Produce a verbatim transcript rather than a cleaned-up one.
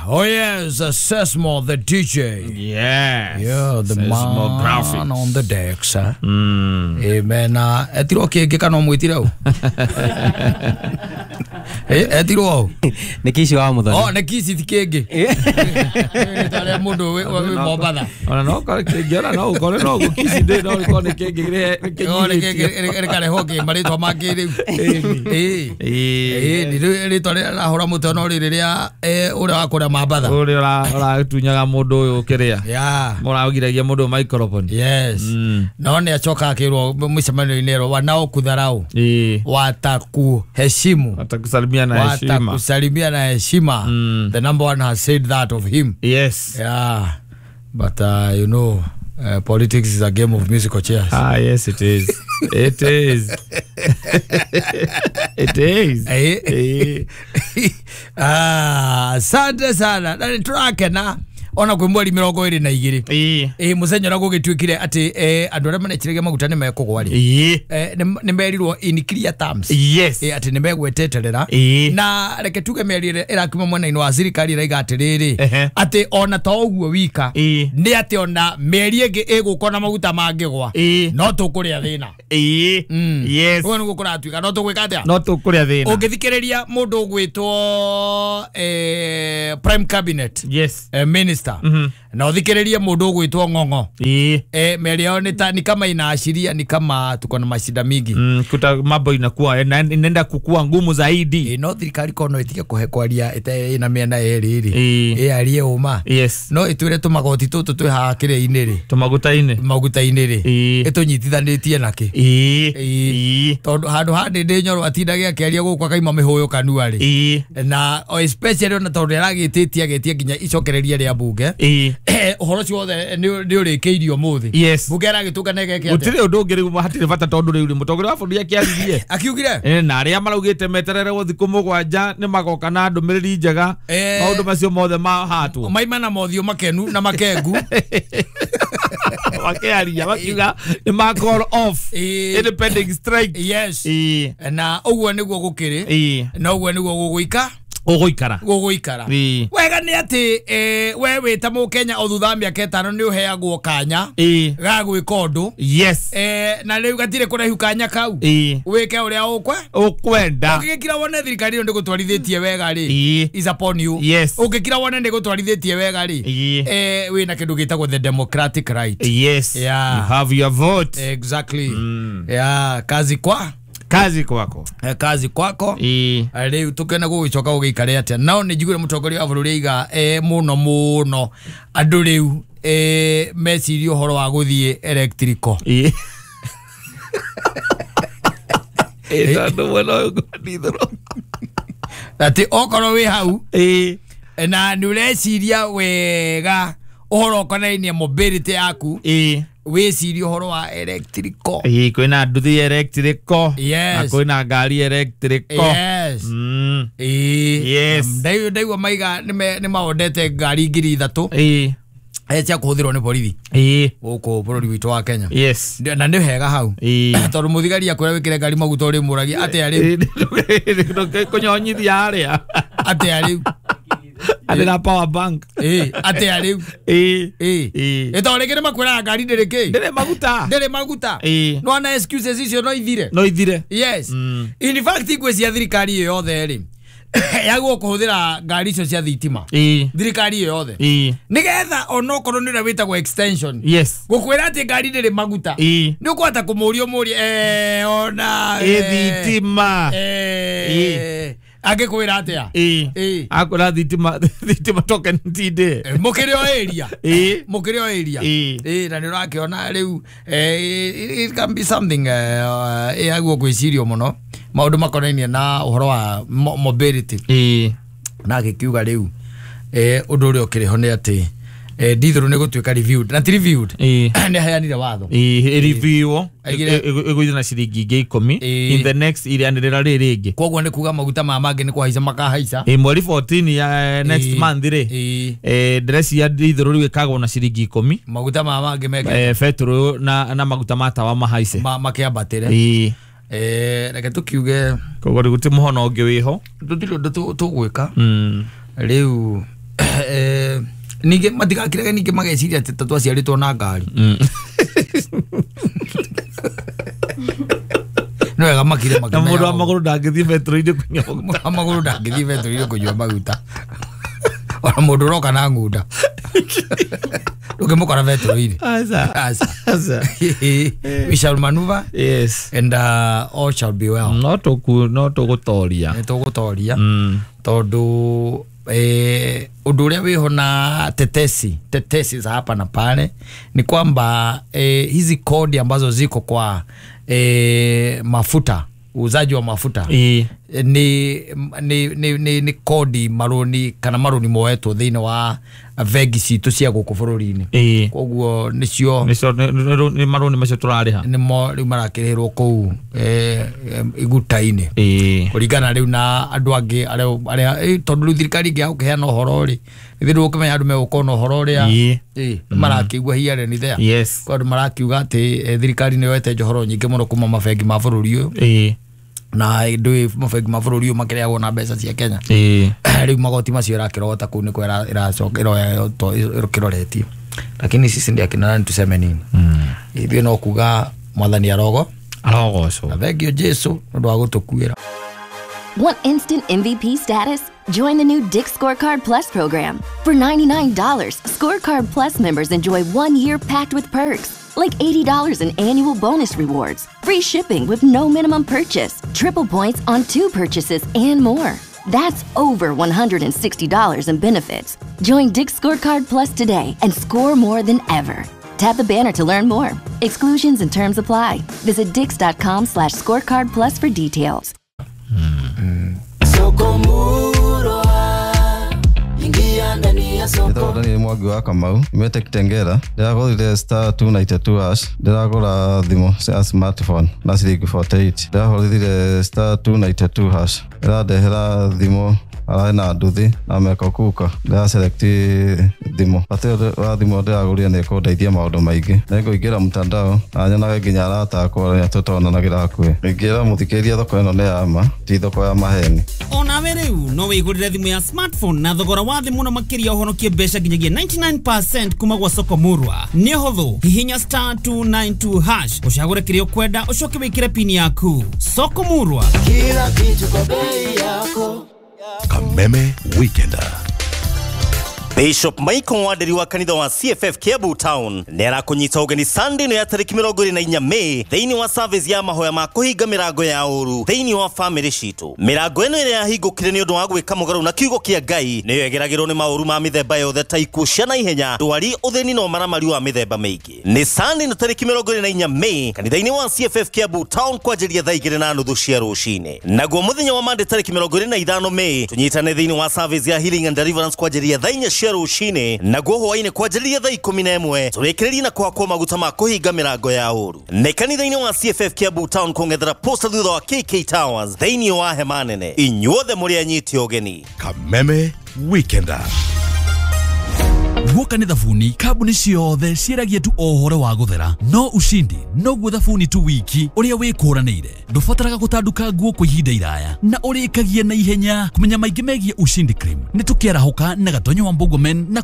Oh yes, Sesmo the D J. Yes. Yeah, the Sesmo man graphics on the decks. Huh? Mm. Amen. Etiro kĩngĩ kana ũmwĩtire ũ? Eh, etirwo ũ? Nĩ Kici wa Muthoni. Oh, nĩ Kici ti kĩngĩ. Rĩtwa rĩa mũndũ wĩ wĩ Mombatha. Ona no kore kĩngĩ, ona no ũkore no ũguo Kici ndĩ no ũkorwo nĩ kĩngĩ kĩrĩ Oh, nĩ kĩngĩ rĩkarehwo kĩ marĩtwa mangĩ rĩu. Ĩĩ. Ĩĩ, nĩ rĩtwa rĩrĩa rĩrahũra mũtwe no rĩrĩ rĩa eh, ũrĩa wa kũrĩa Mambatha. Ũrĩa ũratunyaga mũndũ ũyũ kĩrĩa. Yeah. Mũragiragia mũndũ microphone. Yes. Mm. No nĩ acoka akĩrwo mũcemanio-inĩ ĩrwo wanaokudharau Ĩĩ. watakuheshimu Watakusalimia na heshima. watakusalimia na heshima. Mm. The number one has said that of him. Yes. Yeah. But uh, you know, uh, politics is a game of musical chairs. Ah, yes, it is. It is. It is. Eh. Eh. Ah, asante sana. Na nĩtũrakena ona kwĩ mweri mĩrongo ĩrĩ na igĩrĩ. Ĩĩ. Ĩ mũthenya ũrĩa gũgĩtuĩkire atĩ eh, andũ arĩa manekĩragia maguta nĩ mekũgwa rĩ. Ĩĩ. Eh, nĩ nĩ merirwo in clear terms. Yes. Ĩ atĩ nĩ megweteterera. Ĩĩ. Na reke tuge mĩario ĩrĩa ĩrakiuma mwena-inĩ wa thirikari ĩraiga atĩrĩrĩ Ehe. atĩ ona to ũguo wika Ĩĩ. nĩ atĩ ona mĩeri ĩngĩ ĩgũka na maguta mangĩgwa Ĩĩ. no tũkũrĩa thĩna. Ĩĩ. Mm. Yes. Ũguo nĩguo kũratuĩka no tũgwĩka atĩa? No tũkũrĩa thĩna. Ũngĩthikĩrĩria mũndũ ũgwĩtwo eh, prime cabinet Yes. eh, minister Mhm. na ũthikĩrĩrie mũndũ ũgwĩtwo Ng'ong'o Ĩĩ. eh, mĩario yao ni ta ni kama inaashiria ni kama tuko na mashida mingi. Mm, kuta mambo inakuwa ina- inaenda kukua ngumu zaidi. Ĩ no thirikari kono ĩtige kũhe kwaria ĩte ĩna mĩena ĩrĩ rĩ Ĩĩ. ĩarie ũma Yes. no ĩtwĩre tũmagoti tũtũ twĩ haha kĩrĩa-inĩ rĩ Tũmaguta-inĩ. maguta-inĩ rĩ Ĩĩ. ĩtũnyitithanĩtie nakĩ Ĩĩ. Ĩĩ. Ĩĩ. Tondũ handũ ha Ndĩndĩ Nyoro atindage akĩaria gũkũ akaima mĩhũyũ kanua rĩ Ĩĩ. na o especially ona tondũ nĩaragĩtĩtie agetia nginya icokereria rĩa bunge Ĩĩ. ũhoro ũcio wothe nĩ nĩ ũrĩkĩirio ũmũthĩ. Yes. Bunge aragĩtũngana ĩgeke atĩa? Gũtirĩ ũndũ ũngĩ rĩu hatirĩ bata tondũ rĩu rĩ mũtongoria wa bũrũri akĩaririe. Akiugire Eh, na arĩa maraugĩte meterere thikũ mũgwanja nĩ magoka na ndũmĩrĩri njega Eh. maũndũ macio mothe mahatwo maima na mothiũ makenu na makengu makĩaria makiuga nĩ ma call off Ĩĩ. independent strike. Yes. Ĩĩ. Na ũguo nĩguo gũkĩrĩ Ĩĩ. na ũguo nĩguo gũgũika Ũgũikara. gũgũikara. Ĩĩ. Wega nĩ atĩ eh, we wĩ ta mũkenya o thutha wa mĩaka ĩtano nĩ ũheagwo kanya Ĩĩ. ga gwĩka ũndũ Yes. eh, na rĩu gatirĩ kũraihu kanya kau Ĩĩ. wĩke ũrĩa ũkwe Ũkwenda. ũngĩgĩkira wone thirikari ĩyo ndĩgũtwarithĩtie wega rĩ Ĩĩ. is upon you. Yes. Ũngĩkira wone ndĩgũtwarithĩtie wega rĩ Ĩĩ. eh, wĩna kĩndũ gĩtagwo the democratic right. Yes. Yeah. You have your vote. Exactly. Mm. Yeah, kazi kwa Kazi kwako. eh, kazi kwako. Ĩĩ. Rĩu tũkĩona gũgĩcoka gũgĩikare atĩa nao nĩ njiguire mũtongoria wa bũrũri aiga eh, mũno mũno andũ rĩu eh, mecirie ũhoro wa gũthiĩ electrical. Ĩĩ. Ĩĩ tondũ mwena ũyũ ngwandithũrwo. Atĩ okorwo wĩ hau Ĩĩ. na nĩ ũreciria wega ũhoro ũkonainie mobility yaku Ĩĩ. wĩcirie ũhoro wa electrical. Ĩĩ kwĩna nduthi electrical. Yes. Na kwĩna ngari electrical. Yes. Mm. Ĩĩ. Yes. Ndaigua ndaigua maiga nĩ nĩ maondete ngari ngiri ithatũ Ĩĩ. eh, cia kũhũthĩrwo nĩ borithi Ĩĩ. gũkũ bũrũri witũ wa Kenya. Yes. Na nĩ hega hau Ĩĩ. tondũ mũthigari akwĩra wĩkĩre ngari maguta ũrĩmũragia atĩa rĩu Kũnyonyithia harĩa. atĩa rĩu Arĩ na power bank. Ĩĩ atĩa rĩu Ĩĩ. Ĩĩ. Ĩĩ. Ĩ tondũ rĩngĩ nĩ makwĩraga ngari ndĩrĩ kĩ Ndĩrĩ maguta. ndĩrĩ maguta Ĩĩ. no ana excuses icio no ithire. No ithire. Yes. Mm. In fact ngwĩciria thirikari ĩyo yothe rĩ yagwo kũhũthĩra ngari icio cia thitima Ĩĩ. thirikari ĩyo yothe Ĩĩ. nĩgetha onokorwo nĩ ũrĩa wĩtagwo extension Yes. gũkwĩra atĩ ngari ndĩrĩ maguta Ĩĩ. nĩ ũkũhota kũmũria ũmũrie eh, ona Ĩ thitima. eh, angĩkwĩra atĩa Ĩĩ. Ĩĩ. Akwĩra thitima thitima token tinde. Eh, mũkĩrĩ o area Ĩĩ. mũkĩrĩ o area Ĩĩ. Ĩĩ, na nĩ ũrakĩona rĩu eh, it can be something eh, ĩagwo gwĩcirio mũno maũndũ makonainie na ũhoro wa mo- mobility. Ĩĩ. Na agĩkiuga rĩu eh, ũndũ ũrĩa ũkĩrĩ ho nĩ atĩ eh, ndithũrũ nĩ gũtuĩka reviewed na ti reviewed Ĩĩ. nĩ aheanire watho Ĩĩ ĩreview Aigire- ĩgũithio na ciringi ingĩ ikũmi Ĩĩ. in the next ĩrĩanĩrĩra rĩ rĩngĩ. Koguo nĩ kuga maguta ma mangĩ nĩ kũhaica makahaica. Ĩĩ mweri fourteen ya next Ĩĩ. month rĩ Ĩĩ. eh, ndĩreciria ndithũrũ rĩu ĩkagwo na ciringi ikũmi maguta ma mangĩ meke eh, betũrũ na, na maguta ma tawa mahaice. ma, makĩambatĩre. Ĩĩ. Eh reke tukiuge koguo rĩu gũtirĩ mũhono ũngĩ wĩho tũtirĩ ũndũ tũgwĩka Mm. rĩu eh, ningĩ matigakirage ningĩ mageciria atĩ ta twaciarĩtwo na ngari Mm. nĩ wega makire na mũndũ wa makĩmenyaga magũrũ ndangĩthiĩ betũrũ-inĩ kũnyua maguta mũndũ wa magũrũ ndangĩthiĩ betũrũ-inĩ kũnyua maguta ona mũndũ ũroka na ng'unda ndũngĩmũkora betũrũ-inĩ Aca. Aca. Aca. We shall maneuver Yes. and uh, all shall be well. No tũku no tũgũtoria Nĩ tũgũtoria Mm. tondũ eh, ũndũ ũrĩa wĩho na tetesi tetesi za hapa na pale ni kwamba eh, hizi kodi ambazo ziko kwa eh, mafuta, uuzaji wa mafuta Ĩĩ. ni ni ni ni, ni kodi marũni kana marũni moetwo thĩinĩ wa bengi citũ cia gũkũ bũrũri-inĩ Ĩĩ. koguo nĩcio Nĩcio nĩ- nĩ nĩ marũni macio tũrarĩha nĩmo rĩu marakĩrĩhĩrwo kũu eh, em, iguta-inĩ Ĩĩ. kũringana rĩu na andũ angĩ arĩa arĩa eh, tondũ rĩu thirikari ĩngĩ gũkĩheana ũhoro rĩ ithuĩ ndũgũkĩmenya andũ megũkorwo na ũhoro ũrĩa Ĩĩ. ĩ marakĩigua here and there Yes. kwa andũ marakiuga atĩ eh, thirikari nĩ yoete njohoro nyingĩ mũno kuma mabengi ma bũrũri ũyũ Ĩĩ. na ndũĩ mabengi ma bũrũri ũyũ makĩrĩagwo na mbeca cia Kenya Ĩĩ. rĩu magoti macio ĩrakĩrogota kũu nĩkuo ĩra- ĩracoka ĩroya ĩkĩroretie lakini sisi ndiĩ akina nani tuseme nini ithuĩ no kuga mwathani arogo Arogocwo. na thengio Jesu nĩ ũndũ wa gũtũkuĩra. Want instant M V P status? Join the new Dick's Scorecard Plus program. For ninety-nine dollars, Scorecard Plus members enjoy one year packed with perks, like eighty dollars in annual bonus rewards, free shipping with no minimum purchase, triple points on two purchases, and more. That's over one hundred sixty dollars in benefits. Join Dick's Scorecard Plus today and score more than ever. Tap the banner to learn more. Exclusions and terms apply. Visit dicks.com slash scorecard plus for details. Njĩtagwo Daniel Mwangi wa Kamau nyumĩte Kitengela ndĩragũrire star two ninety two hash ndĩragũra thimũ cia smartphone na ciringi forty eight ndĩrahũrithire star two ninety two hash ĩrandehera thimũ ararĩ na nduthi na meko kuka ndĩraselect thimũ bata ũyũ wa thimũ ndĩragũrire nĩ ĩkũndeithia maũndũ maingĩ nĩngũingĩra mtandao na nyonage nginya arata akwa arĩa tũtonanagĩra hakuhĩ ingĩra mũthikĩrĩria thoko ĩno nĩ ya ma ti thoko ya maheni. Onawe rĩu no wĩgũrĩre thimũ ya smartphone na thogora wa thĩ mũno makĩria ũhonokie mbeca nginyagia ninety-nine percent kuma gwa soko murwa. Nĩ ũhũthũ, hihinya star two nine two hash ũcagũre kĩrĩa ũkwenda ũcoke wĩkĩre pini yaku. Soko murwa, kila kitu kwa bei yako. Kameme Weekender. Bishop Michael Waderi wa kanitha wa C F F Kiambu Town nĩ arakũnyita ũgeni Sunday ĩno ya tarĩki mĩrongo ĩrĩ na inya May thĩinĩ wa service ya mahoya ma kũhinga mĩrango ya ũru thĩinĩ wa family citũ. Mĩrango ĩno ĩrĩa yahingũkire nĩ ũndũ wa gwĩka mũgarũ na kiugo kĩa Ngai nĩyo ĩgeragĩrwo nĩ maũru ma mĩthemba yothe ta ikuũ cia naihenya, ndwari, ũthĩni na ũmaramari wa mĩthemba mĩingĩ. Nĩ Sunday ĩno tarĩki mĩrongo ĩrĩ na inya May kanitha-inĩ wa C F F Kiambu Town kwanjĩrĩria thaa igĩrĩ na nuthu cia rũcinĩ. Naguo mũthenya wa Monday tarĩki mĩrongo ĩrĩ na ithano May tũnyitane thĩinĩ wa service ya healing and deliverance kwanjĩrĩria thaa inya cia rũcinĩ naguo hwaĩ-inĩ kwanjĩrĩria thaa ikũmi na ĩmwe tũrĩkĩrĩrie na kũhakwo maguta ma kũhinga mĩrango ya ũru. Nĩ kanitha-inĩ wa C F F Kiambu Town kũng'ethera posta thutha wa K K Towers thĩinĩ wa hema nene. Inyuothe mũrĩ anyiti ũgeni. Kameme Weekender. Guoka nĩ thabuni kambuni ciothe ciĩragia tu o ũhoro wa gũthera no ushindi noguo thabuni tu wiki ũrĩa wĩkũranĩire ndũbataraga gũtanduka nguo kwa ihinda iraya na ũrĩkagia na ihenya. Kũmenya maingĩ megiĩ Ushindi Cream nĩ tũkĩarahũka na Gatonyo wa Mbogomen na